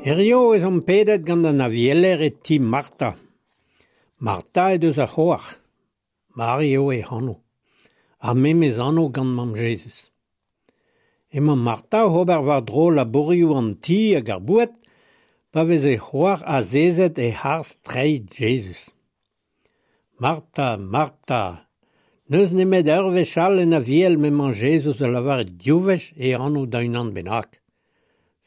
Hiziv ez omp pedet gant an avieler e ti Marta. Marta he deus ur c'hoar. Mari eo hec'h anv. Ar memes anv gant mamm Jezuz. Emañ Marta oc'h ober war-dro labourioù an ti hag ar boued pa vez he c'hoar azezet e-harz treid Jezuz. Marta, Marta, n'eus nemet ur wech all en Aviel m'emañ Jezuz o lavaret div wech e anv da unan bennak.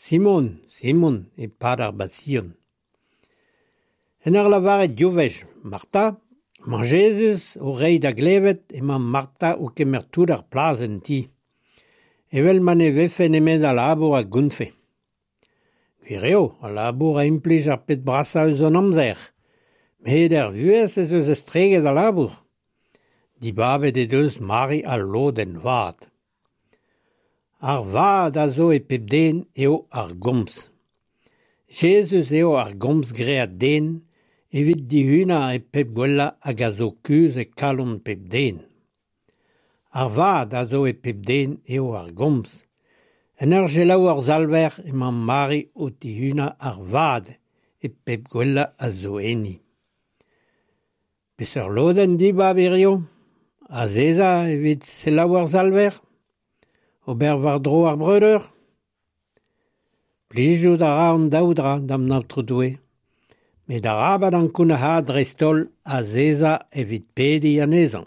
Simon, Simon, e-pad ar Basion. En ur lavaret div wech Marta, emañ Jezuz o reiñ da glevet emañ Marta o kemer tout ar plas en ti. Evel ma ne vefe nemet al labour a gountfe. Gwir eo, al labour a implij ar pep brasañ eus an amzer. Met er vuhez ez eus estreget al labour. Dibabet he deus Mari al lodenn vat. Ar vad a zo e pep den eo ar gomz. Jezuz eo ar gomz graet den evit dihunañ e pep gwellañ hag a zo kuzh e kalon pep den. Ar vad a zo e pep den eo ar gomz. En ur selaou hor Salver emañ Mari o tihunañ ar vad e pep gwellañ a zo enni. Peseurt lodenn dibab hiziv ? Azezañ evit selaou ar Salver ? Ober war-dro ar breudeur ? Plijout a ra an daou dra d'an Aotrou Doue. Met arabat ankounac'haat dreist-holl azezañ evit pediñ anezhañ.